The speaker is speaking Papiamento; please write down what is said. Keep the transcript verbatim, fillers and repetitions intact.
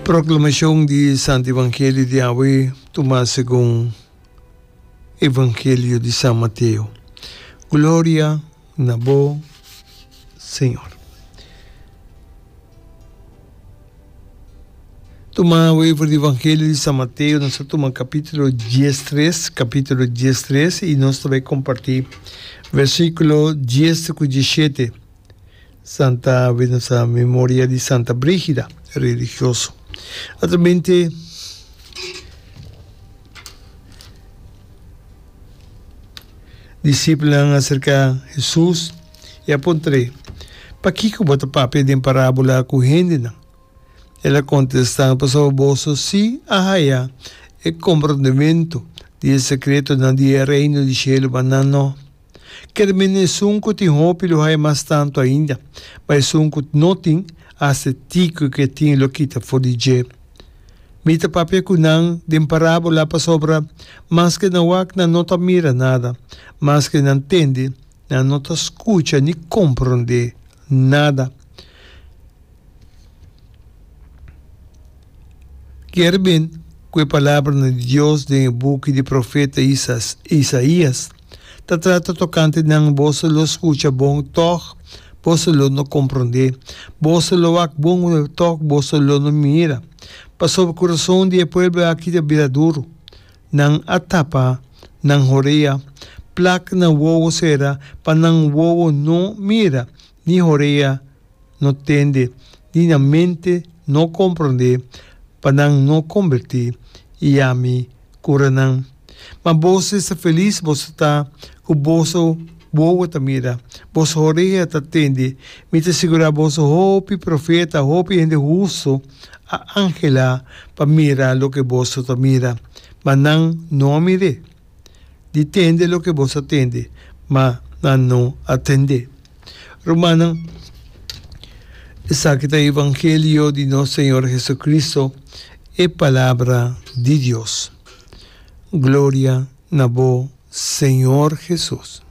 Proclamacion di Santo Evangelio di awe tuma segun Evangelio di San Mateo. Gloria na bo, Señor. Tuma awe for di Evangelio di San Mateo, nos ta tuma capítulo diestres, capítulo diestres, y nos ta bay comparti versículo dies cu diesshete. Santa awe nos ta memoria di Santa Brígida, religioso. Naturalmente, disipelnan a acerca Hesus y a puntr'é, Pakico bo ta papia den parábola cu hendenan? El a contestá, Pasobra boso sí a haya e comprondemento di e secretonan di e reino di shelu, ma nan no. Kermen esun ku tin hopi lo haya mas tantu ainda, ma esun ku no tin, asta e tiki ku e tin lo kita for di dje. Mi ta papia ku nan den parábola pasobra maske nan wak nan no ta mira nada, maske nan tende nan no ta skucha ni komprondé nada. Kier bin ku e palabranan di Dios den e buki di profeta Isaías ta trata tokante nan, Boso lo skucha bon, tòg boso lo no komprondé, boso lo wak bon, tòg boso lo no mira, pasobra kurason di e pueblo aki ta bira duru. Nan a tapa nan horea, plak nan wowo sera pa nan wowo no mira, ni horea no tende, ni nan mente no komprondé, pa nan no kombertí i ami kura nan. Ma boso esta felis boso ta ku boso wowo ta mira, boso orea ta tende. Mi ta sigurá boso, hopi profeta, hopi hende hustu a anhelá pa mira loke boso ta mira, ma nan no a mir'é, di tende loke boso a tende, ma nan no a tend'é. Rumannan, esaki ta e evangelio di nos Señor Jesucristo, e Palabra di Dios. Gloria na bo, Señor Jesus.